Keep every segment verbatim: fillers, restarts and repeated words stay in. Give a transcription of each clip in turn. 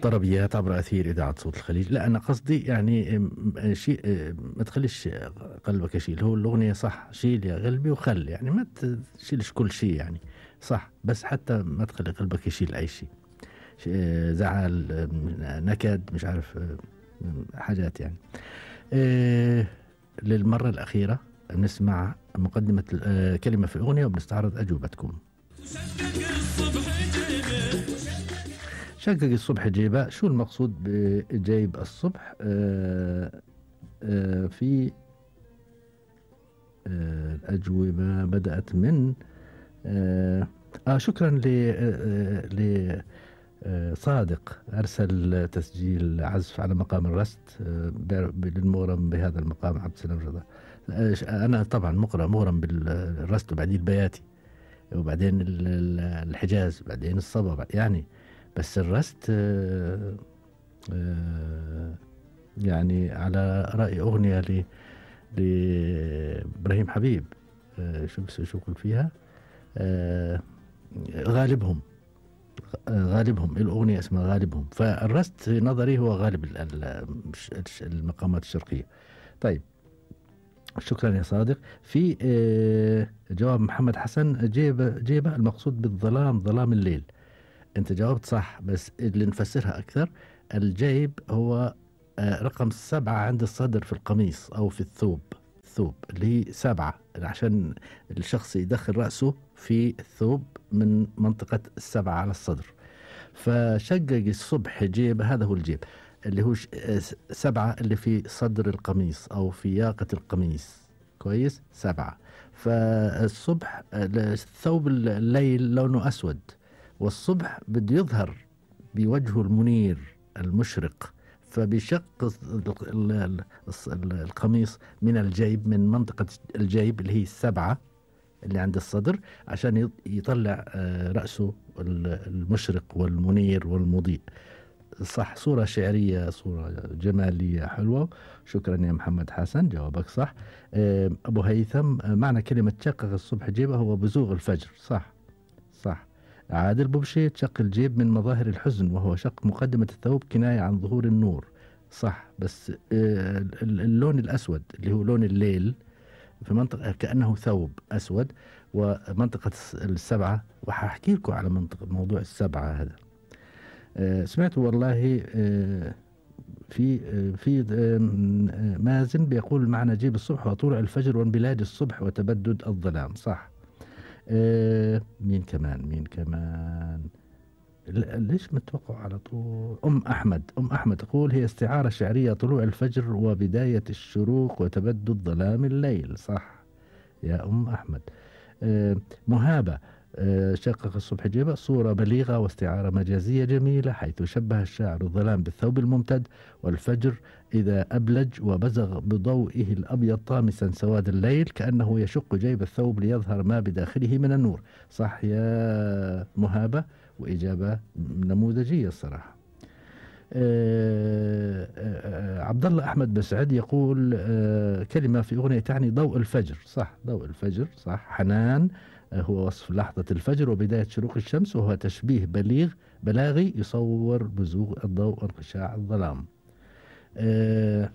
طربيات عبر أثير إذاعة صوت الخليج. لا أنا قصدي يعني شيء ما تخليش قلبك يشيل، هو الأغنية صح شيل يا قلبي وخل، يعني ما تشيلش كل شيء يعني صح، بس حتى ما تخلي قلبك يشيل أي شيء، زعل نكد مش عارف حاجات يعني. للمرة الأخيرة نسمع مقدمة كلمة في الأغنية وبنستعرض أجوبتكم. شقق الصبح جيبه، شو المقصود بجيب الصبح؟ آآ آآ في آآ الأجوبة بدأت من آآ آه شكرا ل صادق أرسل تسجيل عزف على مقام الرست للمغرم بهذا المقام عبد السلام رضا. أنا طبعا مغرم مغرم بالرست وبعدين البياتي وبعدين الحجاز وبعدين الصبا يعني، بس الرست آآ آآ يعني على رأي أغنية ل لإبراهيم حبيب شو شو يقول فيها غالبهم غالبهم الأغنية اسمها غالبهم، فالرست في نظري هو غالب المقامات الشرقية. طيب شكرا يا صادق. في جواب محمد حسن جيب جيبه المقصود بالظلام ظلام الليل، انت جاوبت صح، بس اللي نفسرها اكثر الجيب هو رقم سبعة عند الصدر في القميص او في الثوب، الثوب اللي هي سبعة عشان الشخص يدخل رأسه في الثوب من منطقة السبعة على الصدر، فشقق الصبح جيب هذا هو الجيب اللي هو سبعة اللي في صدر القميص او في ياقة القميص، كويس سبعة. فالصبح الثوب الليل لونه اسود، والصبح بده يظهر بوجهه المنير المشرق، فبيشق القميص من الجيب من منطقة الجيب اللي هي السبعة اللي عند الصدر عشان يطلع رأسه المشرق والمنير والمضيء. صح، صورة شعرية، صورة جمالية حلوة. شكرا يا محمد حسن، جوابك صح. أبو هيثم معنى كلمة شقق الصبح جيبه هو بزوغ الفجر. صح صح. عادل بوبشي شق الجيب من مظاهر الحزن وهو شق مقدمة الثوب كناية عن ظهور النور. صح، بس اللون الأسود اللي هو لون الليل في منطقة كأنه ثوب أسود، ومنطقة السبعة، وحاحكي لكم على منطقة موضوع السبعة هذا. سمعت والله في في مازن بيقول معنى جيب الصبح وطلوع الفجر وانبلاج الصبح وتبدد الظلام. صح. مين كمان مين كمان ليش متوقع على طول؟ أم أحمد أم أحمد تقول هي استعارة شعرية طلوع الفجر وبداية الشروق وتبدد ظلام الليل. صح يا أم أحمد. مهابة شقق الصبح جيبه صورة بليغة واستعارة مجازية جميلة، حيث شبه الشاعر الظلام بالثوب الممتد، والفجر إذا أبلج وبزغ بضوئه الأبيض طامسا سواد الليل كأنه يشق جيب الثوب ليظهر ما بداخله من النور. صح يا مهابة، وإجابة نموذجية الصراحة. آه آه عبد الله أحمد بسعد يقول آه كلمة في أغنية تعني ضوء الفجر. صح، ضوء الفجر صح. حنان هو وصف لحظة الفجر وبداية شروق الشمس، وهو تشبيه بليغ بلاغي يصور بزوغ الضوء وانقشاع الظلام. أه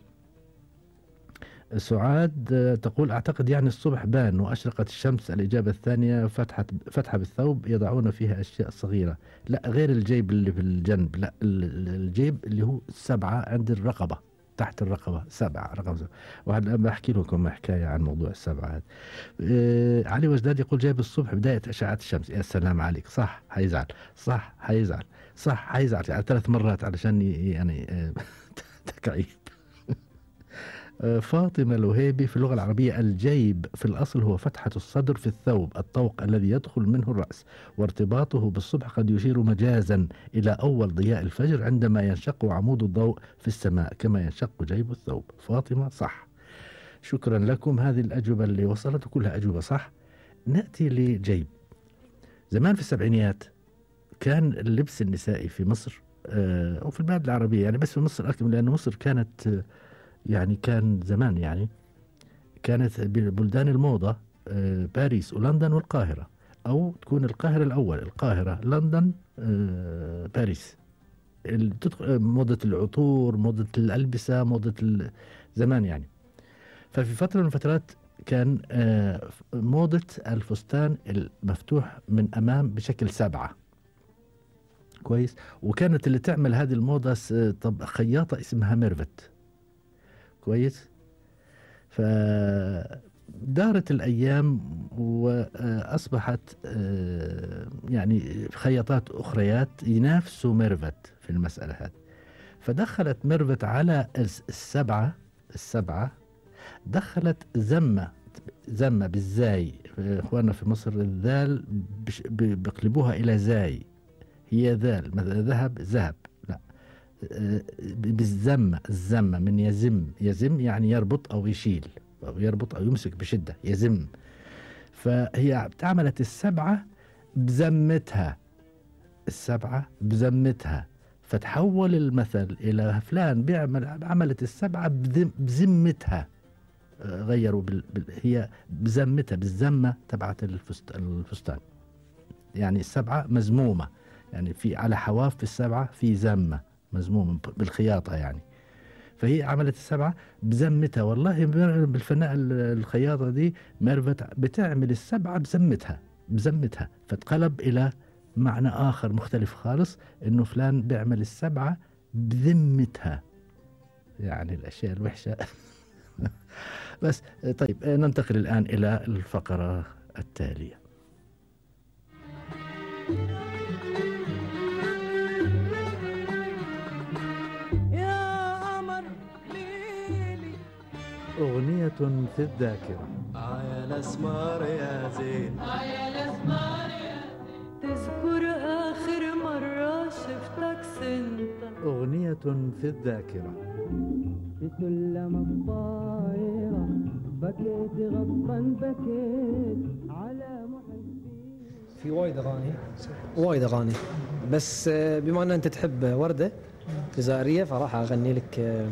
سعاد تقول أعتقد يعني الصبح بان وأشرقت الشمس. الإجابة الثانية فتحة فتحة بالثوب يضعون فيها أشياء صغيرة. لا، غير الجيب اللي في الجنب، لا الجيب اللي هو سبعة عند الرقبة، تحت الرقبة سبعة، رقم سبعة. وأنا بحكي لكم حكاية عن موضوع السبعة هذا. آه علي وجداد يقول جايب الصبح بداية أشعة الشمس. يا سلام عليك، صح حيزعل، صح حيزعل، صح حيزعل يعني ثلاث مرات علشان يعني آه تكعيب. آه فاطمة الوهيبي في اللغة العربية الجيب في الأصل هو فتحة الصدر في الثوب، الطوق الذي يدخل منه الرأس، وارتباطه بالصبح قد يشير مجازا إلى أول ضياء الفجر عندما ينشق عمود الضوء في السماء كما ينشق جيب الثوب. فاطمة صح. شكرا لكم، هذه الأجوبة اللي وصلت كلها أجوبة صح. نأتي لجيب. زمان في السبعينيات كان اللبس النسائي في مصر آه أو في البلاد العربية يعني، بس في مصر أكثر، لأن مصر كانت آه يعني كان زمان يعني كانت بلدان الموضة آه باريس ولندن والقاهرة، أو تكون القاهرة الأول، القاهرة لندن آه باريس، ال- تدخل موضة العطور، موضة الألبسة، موضة ال- زمان يعني. ففي فترة من الفترات كان آه، موضة الفستان المفتوح من أمام بشكل سبعة. كويس. وكانت اللي تعمل هذه الموضة س- طب خياطة اسمها ميرفت. كويس. فدارت الأيام وأصبحت آه، يعني خياطات أخريات ينافسوا ميرفت في المسألة هذه. فدخلت ميرفت على الس- السبعة السبعة دخلت زمة زمة بالزاي. إخواننا في مصر الذال بش- ب- بيقلبوها إلى زاي. هي ذال مثلا ذهب ذهب، لا، آه، بالزمة. الزمة من يزم. يزم يعني يربط أو يشيل أو يربط أو يمسك بشدة، يزم. فهي عملت السبعة بزمتها. السبعة بزمتها. فتحول المثل إلى فلان بيعمل عملت السبعة بذم- بذمتها. آه، غيروا بال... بال... هي بزمتها، بالزمة تبعت الفست... الفستان. يعني السبعة مزمومة، يعني في على حواف في السبعة في زمة مزمومة بالخياطة يعني. فهي عملت السبعة بزمتها. والله بالفناء الخياطة دي ميرفت بتعمل السبعة بزمتها بزمتها. فتقلب إلى معنى آخر مختلف خالص، إنه فلان بيعمل السبعة بذمتها. يعني الأشياء الوحشة. بس طيب، ننتقل الآن إلى الفقرة التالية. يا قمر ليلي أغنية في الذاكرة. عيا الاسمار يا زين، عيا الاسمار يا زين، تذكر اخر مرة شفتك سنت. أغنية في الذاكرة. في سلم الطايرة بكيت غصبا بكيت على محبي. في وايد اغاني وايد اغاني بس آه، بما ان انت تحب ورده جزائريه فراح اغني لك آه،